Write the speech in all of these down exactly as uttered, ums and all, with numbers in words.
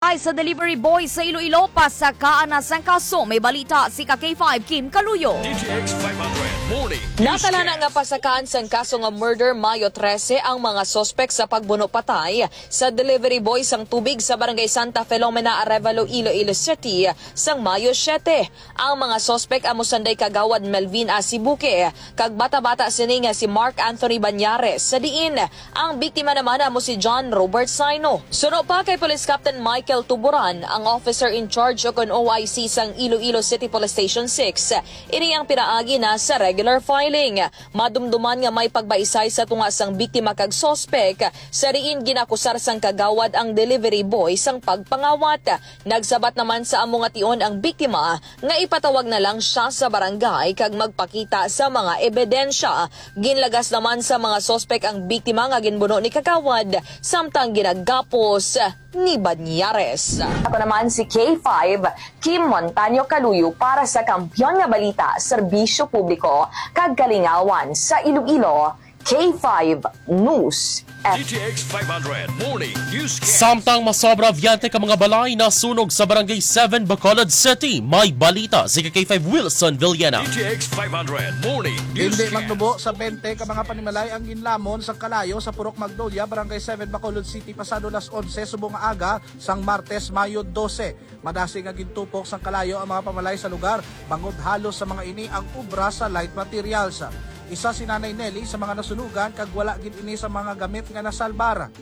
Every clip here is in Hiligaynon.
Ay, sa delivery boy sa Iloilo, pasakaan na sang kaso. May balita si ka K five Kim Kaluyo. D T X five hundred Morning News Natala na Cast. Nga pasakaan sang kaso nga murder Mayo trese ang mga suspek sa pagbuno patay sa delivery boy sang tubig sa Barangay Santa Filomena, Arevalo, Iloilo City sang Mayo siyete. Ang mga suspek amo sanday Kagawad Melvin Asibuque kag bata-bata sini nga si Mark Anthony Banyares, sa diin ang biktima naman amo si John Robert Saino. Suno pa kay Police Captain Michael Tuburan, ang officer in charge o kon O I C sang Iloilo City Police Station six, ini ang pinaagi na sa regular filing. Madumduman nga may pagbaisay sa tunga sang biktima kag suspek, sa diin ginakusar sang kagawad ang delivery boy sang pagpangawat. Nagsabat naman sa amo nga tion ang biktima nga ipatawag na lang siya sa barangay kag magpakita sa mga ebidensya. Ginlagas naman sa mga suspek ang biktima nga ginbuno ni kagawad samtang ginagapos ni Banyares. Ako naman si K five, Kim Montaño Kaluyo para sa Kampiyon nga Balita, Serbisyo Publiko, kag Kalingawan sa Iloilo, K five News. D T X five hundred Morning News Cast. Samtang masobra biyente ka mga balay nasunog sa Barangay seven, Bacolod City, may balita si ka K five Wilson Villena. D T X five hundred Morning News Hindi Cast. magnubo sa bente ka mga panimalay ang ginlamon sa Kalayo sa Purok Magnolia, Barangay seven, Bacolod City, pasado las onse subong nga aga sang Martes, Mayo dose. Madasig nga gintupok sang Kalayo ang mga pamalay sa lugar bangod halos sa mga ini ang obra sa light materials. Isa si Nanay Nelly sa mga nasunugan kag wala gid ini sa mga gamit nga nasalbar.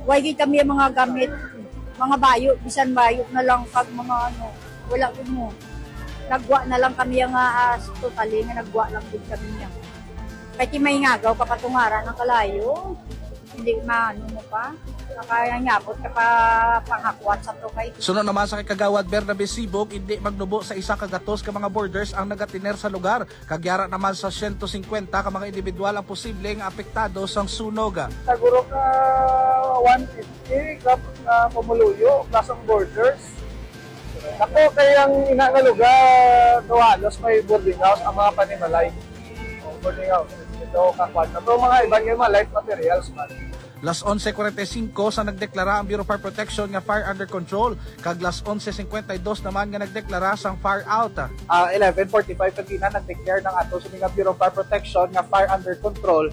Way gid kami ang mga gamit, mga bayo, bisan bayo na lang kag mga ano, wala gid mo. Nagwa na lang kami nga ah, totally nga nagwa lang gid kami niya. Kay ti may ngagaw ka patungaran ang Kalayo, hindi maano mo pa, makayangabot ka pa panghakwat sa to kay Suno naman sa kay Kagawad Bernabe Sibog, hindi magnubo sa isa ka gatos ka mga borders ang nagatiner sa lugar, kag yara naman sa siyento singkwenta ka mga individual ang posible nga apektado sang sunog. Siguro ka one fifty ka uh, pumuluyo plus ang borders. Ako kay ang ina nga lugar do halos may boarding house ang mga panimalay. Boarding house. Ito kakuan na to mga iban nga mga light materials man. Las onse cuarenta y cinco sa nagdeklara ang Bureau of Fire Protection nga fire under control, kag las onse cincuenta y dos naman nga nagdeklara sang fire out. Uh, eleven forty-five kagina nag-declare ng ato sa mga Bureau of Fire Protection nga fire under control.